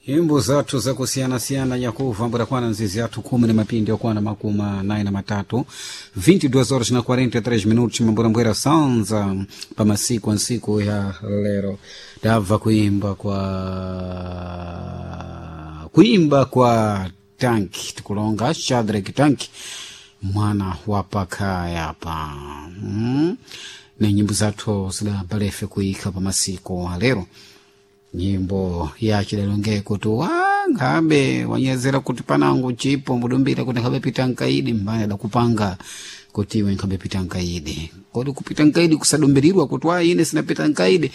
Nyimbo zathu zakusiyana-siyana nyakuva mbudakwana nzizi athu khumi na mapindi okwana makumi anayi na matatu 22 horas na 43 minutos mamburambwera sanza pa masiku ansiku ya lero. Tabva kuimba kwa Tanki, tikulonga Shadrack Tanki, mwana wa pakhaya pa Na nyimbo zathu zidabalefe kuikha pa masiku alero, nyimbo yachidalonge kuti wa nkhabe wanyezera kuti panango chipo mudumbira kuti nkhabe pita nkaidi mbani adakupanga kuti iwe nkhabe pita nkaidi. Kodi kupita nkaidi kusadumbirirwa kuti wa ine sinapita nkaidi?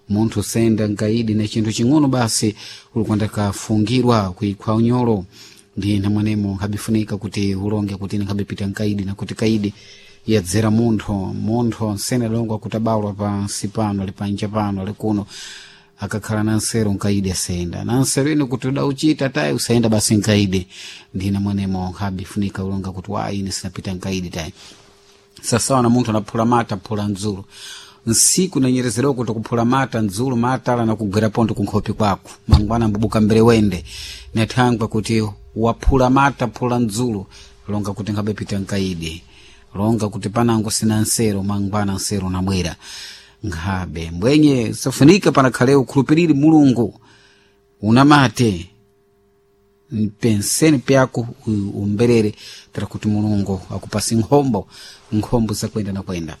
Munthu senda nkaidi na chinthu ching'ono basi ulikwanda kafungirwa kuikhwa unyolo. Ndi namwenemo nkhabifunika kuti ulonge kuti ine nkhabe pita nkaidi, na kuti kaidi yadzera munthu. Munthu nsene adalongwa kuti abalwa pansi pano, ali panja pano, ali kuno, akakhala na nsero nkaidi asenda na nsero ino kuti udauchita tayi usayenda basi nkaidi. Ndina mwenemo nkhabifunika ulonga kuti wa ine sinapita nkaidi tayi. Sasawa na munthu anaphula mata, phula ndzulu nsiku nanyerezerwa kuti kuphula mata ndzulu matala nakugwera pontho kunkhopi kwako, mangwana mbubuka mbere wende nathangwa kuti waphula mata, phula ndzulu, longa kuti nkhabepita nkaidi, longa kuti panango sina nsero, mangwana nsero nabwera nkhabe mbwenye. Safunika panakhale ukhulupiriri Mulungu, unamate mpenseni pyako umberere tera kuti Mulungu akupasi nkhombo, nkhombo zakwenda na kwenda.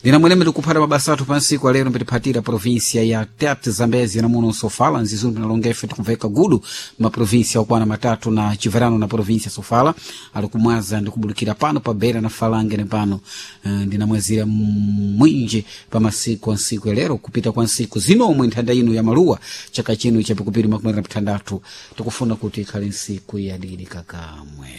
Ndinamwene tikuphata mabasa athu pansiku alero, mbitiphatira província ya Tete, Zambezia namuno Sofala, nzizundu nalongefe tikumveka gudu maprovíncia okwana matatu na chiverano na província Sofala ali kumwaza ndikubulukira pano pa Beira na Falange ne pano. Ndinamwezira mwinji pa masiku ansiku alero kupita kwa nsiku zinomwe nthanda ino ya maluwa chaka chino chapikupiri 16 tikufuna kuti ikhale nsiku yadidi kakamwe.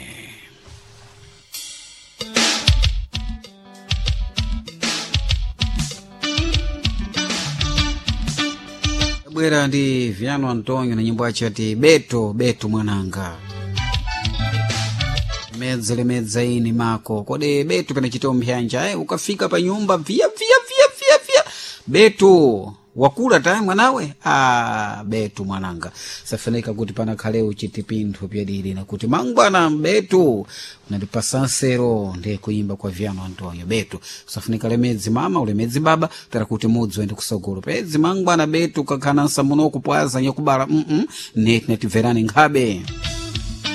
Bwera ndi Viano Antonio na nyimbo yacho yati Beto Beto mwananga medza lemedza ini mako kodi Beto pena chiteo mphyanja ukafika pa nyumba via via via via via Beto wakula tayi mwanawe. Ah, Beto mwananga safunika kuti panakhale uchiti pinthu pyadidi nakuti mangwana Beto unatipasa nsero. Ndiye kuimba kwa Viano Antonio Beto safunika lemedzi mama ulemedzi baba tera kuti mudzi uende kusogolo pedzi mangwana Beto kakhana nsamuno kupwaza nyakubala neti natibverani nkhabe.